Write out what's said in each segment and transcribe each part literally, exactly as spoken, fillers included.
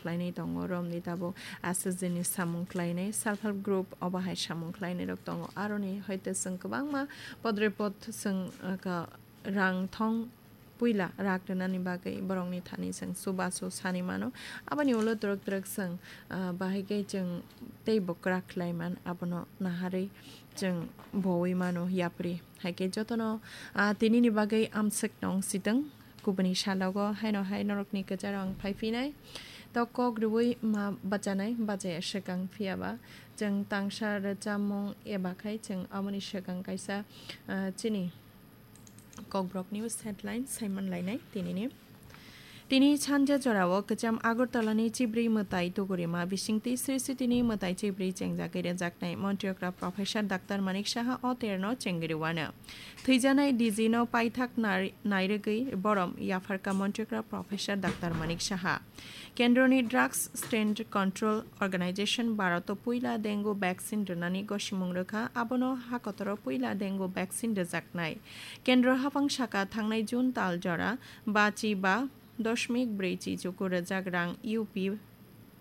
khlainai tongo, romni tabuk S H G ni samung khlainai, self help group obo hai samung khlainai rok tongo. Aroni hoite chwng kwbangma podre pod chwng, uh, ka-, rang thong puila rak rwnani bagwi borokni thani chwng chubachu sani mano. Aboni ulo twrwk twrwk chwng, ah, bahai khe chwng teibo kwrak khlai man, abono naharwi chwng bowi mano yapri. Hai khe jotono, ah, tinini bagwi amswk tong sitwng, kubuni salogo haino hai norokni kwcharo ang phai phinai. To kok rwui ma bachanai, bachaya swkang phiyaba chwng tangsa rwchapmung eba khai chwng aboni swkang kaisa, ah, chini Kokborok News Headline saiman lainai tinini. Tini sanja jorao kwcham Agartalani chibrwi mwtai tugurima bisingtwi Sri Sitini mwtai chibrwi chengjagwi rwjaknai Montri okra Professor Doctor Manik Saha o terno chengri wano. Thwijanai D G no paithak nai-, nairwgwi borom yapharka Montri okra Professor Doctor Manik Saha. Kendroni Drugs Stand Control Organization Bharoto puila dengue vaccine rwnani gosimung rwkha, abono hakotoro puila dengue vaccine rwjaknai. Kendro haphang saka thangnai June tal jora bachi ba doshmik brwi chi chuku rwjak rang U P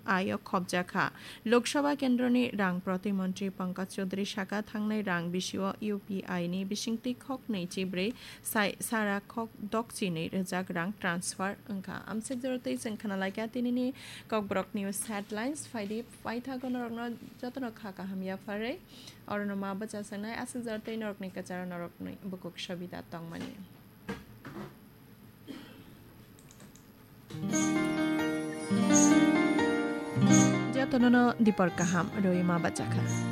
I o khopjakha. Lok Sabha kendroni rang protimontri Pankaj Chaudhary saka thangnai rang bisio U P I ni bisingtwi khoknwi chibrwi sai sara khok dokchinwi rwjak rang transfer wngkha. Amswk jora twi chwng khna laikha tinini Kokborok News Headlines. Phaidi paithago norokno jotono kha kaham yapharwi. Orono ma bwchasaknai aswk jora twi norokni kwcharo norokni bukuk sobida tongmani. Jotonono dipor kaham rwi ma bachakha.